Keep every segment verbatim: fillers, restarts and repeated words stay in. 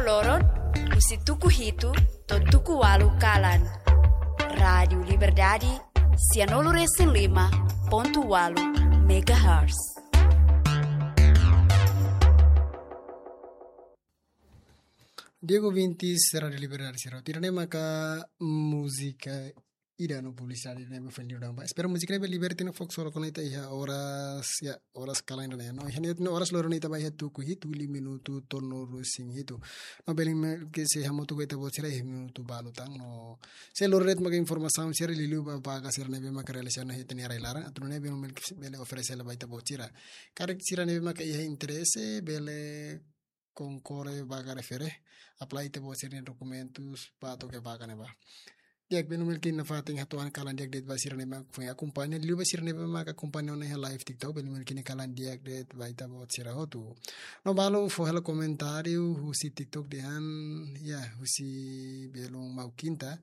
Loron, husi tuku hitu to'o tuku ualu kalan. Rádiu Liberdade, sianulu resin lima pontu ualu megahertz. Diego Vintis, Rádiu Liberdade, sira. Ida-ne'e maka múzika ida no publisidade ne'ebé foin liu daudaun ba. Espera múzika ne'e bele liberta no fokus ora kona ita iha oras, ya, oras kalan ida-ne'e. No, iha ne'e oras loron ita ba iha tuku hitu, liu minutu tolunulu resin hitu. No, belun Melki sei hamutuk ho ita-boot sira iha minutu balu tan. No, sei lori de'it maka informasaun sira liuliu ba vaga sira ne'ebé maka realiza ona iha ita-nia rai-laran. Atu nune'e belun Melki bele oferese hela ba ita-boot sira. Karik sira ne'ebé maka iha interese, bele konkorre vaga refere, apply ita-boot sira-nia dokumentus ba to'o iha vaga ne'ebá. Di'ak, belun Melki nafatin hato'o ha'u-nia kalan di'ak de'it ba sira ne'ebé maka foin akompaña, liuliu ba sira ne'ebé maka akompaña ona iha live TikTok, belun Melki nia kalan di'ak de'it ba ita-boot sira hotu. No balu fó hela komentáriu husi TikTok dehan, ya, husi belun Mau Kinta,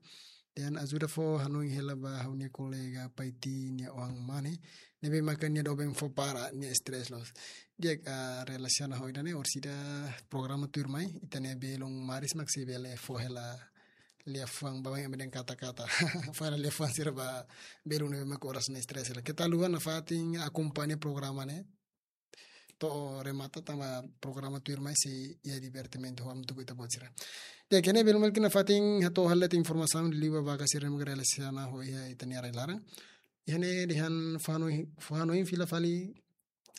dehan ajuda fó hanoin hela ba ha'u-nia kolega Paiti nia oan mane, ne'ebé maka nia doben fó para nia stress loos. Di'ak, ah, relasiona ho ida-ne'e, orsida programa tuirmai, ita-nia belun Maris mak sei bele fó hela liafuan, baibain ema dehan kata-kata. Fó hela liafuan sira ba belun ne'ebé maka oras ne'e stress hela. Keta haluha nafatin akompaña programa ne'e to'o remata, tanba programa tuirmai sei iha divertimentu hamutuk ho ita-boot sira. Di'ak, iha ne'e belun Melki nafatin hato'o hela de'it informasaun liuliu ba vaga sira ne'ebé maka relasiona ho iha ita-nia rai-laran. Iha ne'e dehan fó hanoin, fó hanoin fila fali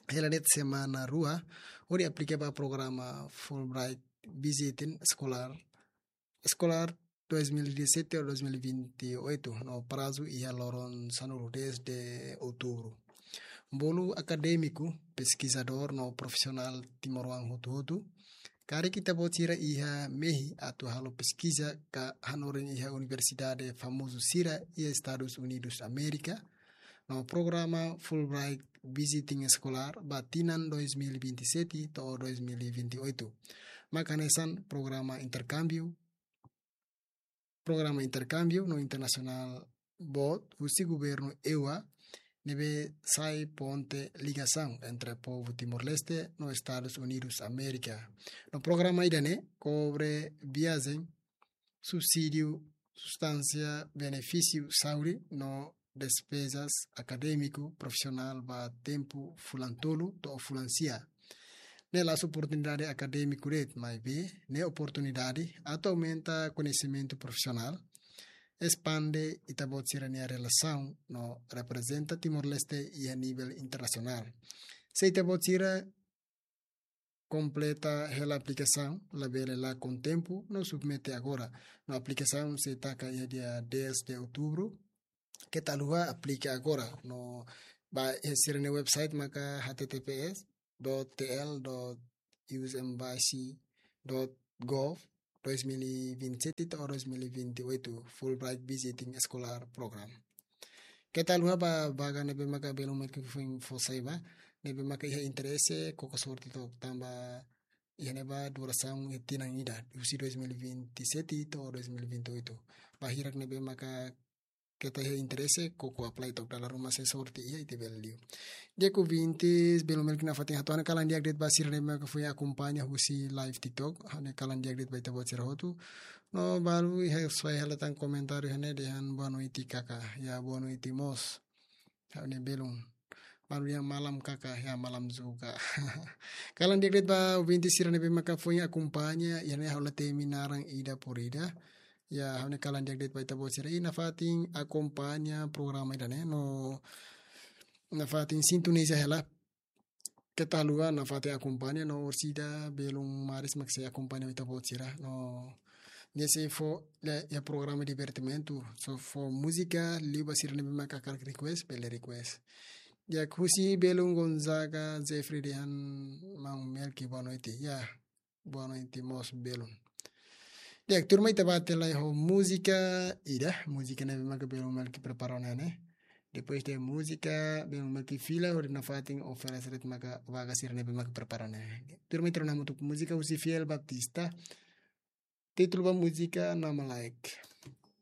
hela de'it semana rua hodi aplika ba programa Fulbright Visiting Scholar, Scholar dois mil e dezassete ou dois mil e vinte e oito, no prazu iha loron sanulu-resin-dez de outubro. Bolu akadémiku, peskizadór no profisionál timoroan hotu-hotu, karik ita-boot sira iha mehi atu halo peskiza ka hanorin iha universidade famozu sira iha Estadus Unidus Amérika, no programa Fulbright Visiting Scholar ba tinan dois mil e vinte e sete to'o dois mil e vinte e oito. Mak hanesan programa interkámbiu, programa interkámbiu no internasionál boot husi governu EUA, ne'ebé sai ponte ligasaun entre povu Timor-Leste no Estadus Unidus Amérika. No programa ida-ne'e kobre viajen, subsídiu, sustánsia, benefísiu saúde no despezas akadémiku profisionál ba tempu fulan tolu to'o fulan sia. Ne'e la'ós oportunidade akadémiku de'it, maibé ne'e oportunidade atu aumenta koñesimentu profisionál, espande ita-boot sira-nia relasaun no reprezenta Timor-Leste iha nivel internasionál. Se ita-boot sira kompleta hela aplikasaun, labele lakon tempu, no submete agora. No aplikasaun sei taka iha dia dez de outubro. Keta haluha, aplika agora. No bá iha sira-nia website maka H T T P S dot T L dot U S embassy dot gov dois mil e vinte e sete to'o dois mil e vinte e oito Fulbright Visiting Scholar Program. Keta haluha ba vaga ne'ebé maka belun Melki foin fó sai ba, ne'ebé maka iha interese, koko sorte to'ok, tanba iha ne'ebá durasaun iha tinan ida, husi dois mil e vinte e sete to'o dois mil e vinte e oito. Ba hirak ne'ebé maka keta iha interese, koko apply to'ok, dala ruma se sorte iha ita bele liu. Di'ak ouvintes, belun Melki nafatin hato'o ha'u-nia kalan di'ak de'it ba sira ne'ebé maka foin akompaña husi live TikTok, ha'u-nia kalan di'ak de'it ba ita-boot sira hotu. No balu iha, soe hela tan komentáriu iha ne'e dehan boa noite kaka, ya boa noite mós. Ha'u-nia belun. Balu dehan malam kaka, ya malam juga. Kalan di'ak de'it ba ouvintes sira ne'ebé maka foin akompaña, iha ne'e ha'u la temi naran ida por ida. Ya, ha'u-nia kalan di'ak de'it ba ita-boot sira. I nafatin akompaña programa ida-ne'e, no nafatin sintoniza hela. Keta haluha, nafatin akompaña, no orsida belun Maris mak sei akompaña ita-boot sira. No nia sei fó, le, iha programa divertimentu. Só fó múzika, liu ba sira ne'ebé maka hakarak request, bele request. Ya, husi belun Gonzaga Jeffrey dehan maun Melki boa noite. Ya, boa noite mós belun. Di'ak, tuirmai ita bá tiha lai ho múzika ida, múzika ne'ebé maka belun Melki prepara ona ne'e. Depois de múzika, belun Melki fila hodi nafatin oferese de'it maka vaga sira ne'ebé maka prepara ona ne'e. Tuirmai ita rona hamutuk múzika husi Fiel Baptista. Títulu ba múzika Nama Laek.